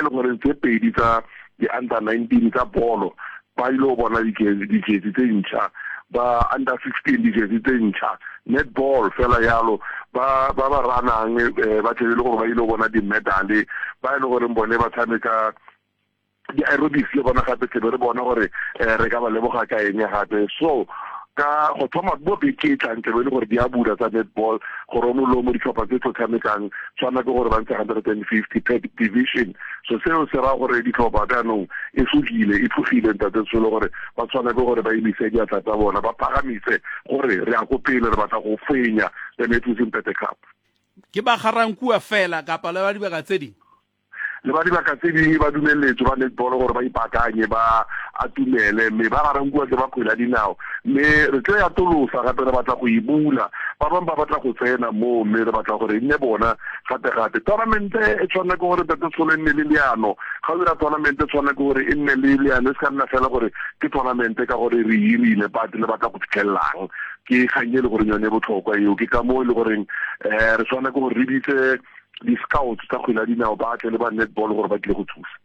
le goreng tse pedi tsa di-under 19 tsa bolo ba ile go bona dijesi tse ntšha, ba under 16 dijesi tse ntšha, netball fela yalo, ba ba ba ranang eh, ba tlebe le gore ba ile go bona di-medale, ba e le goreng bone ba tshameka di-aerobics le bona gape tlebe re bona gore eh, re ka ba leboga ka eng gape. So ka go thoma mo beke e tlang tlebe e le gore di a bula tsa netball gore o molomo ditlhopha tse tlo tshamekang tshwana ke gore ba ntshe 150 per division. So seo se raya gore ditlhopha jaanong e sokile e tlogile ntate Tsholo gore ba tshwana ke gore ba emise diatla tsa bona ba phagamise gore re ya ko pele re batla go fenya the Matthews Mpete Cup. Ke ba Ga-Rankuwa fela kapa le ba dibaka tse ding? Le ba dibaka tse dingwe ba dumeletswe ba netball gore ba ipaakanye ba atumele, mme ba garankuwa ke ba kgwele ya dinao, mme re tlo e atolosa gape re batla go e bula, ba bangwe ba batla go tsena moo, mme re batla gore e nne bona gape-gape. Tournamente e tshwanela ke gore Ntate Tsholo e nne le leano, ga o dira tournamente e tshwanela ke gore e nne le leano, e se ka nna fela gore ke tournamente ka gore re e irile but le batla go fitlhelelang, ke kgang e le goreng yone e botlhokwa eo, ke ka moo e le goreng um re tshwanela ke gore re bitse di-scouts tsa kgwele ya dinao ba tle le ba netball gore ba tlile go thusa.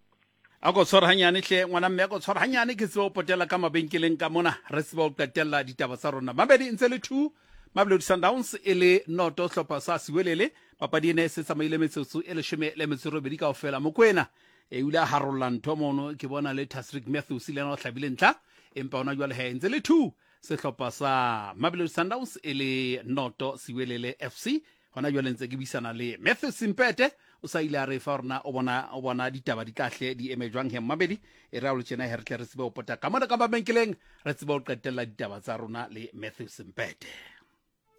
A ko tshware hanyane hle ngwana mme, a ko tshware hanyane ke tsebe go potela ka mabenkeleng ka mona re tsebe go qetella ditaba tsa rona. Mabedi ntse le 2 Mamelodi Sundowns e le noto hlopha sa Siwelele. Papadi ene e se tsamaile metsotso e leshome le metso e robedi kaofela. Mokwena e o ile a harolla ntho mono ke bona le Tasrick Matthews le yena o hlabile ntlha empa ona jwale he ntse le 2 sehlopha sa Mamelodi Sundowns e le noto Siwelele FC. Gona jwale ntse ke buisana le Matthew Simpete, o sa ile a re fa rona o bona o bona ditaba di tla hle di eme jwang he mmamedi e re a lo tjena he re tle re tsebe ho pota ka mona ka mabenkeleng re tsebe ho qetella ditaba tsa rona le Matthew Simpete.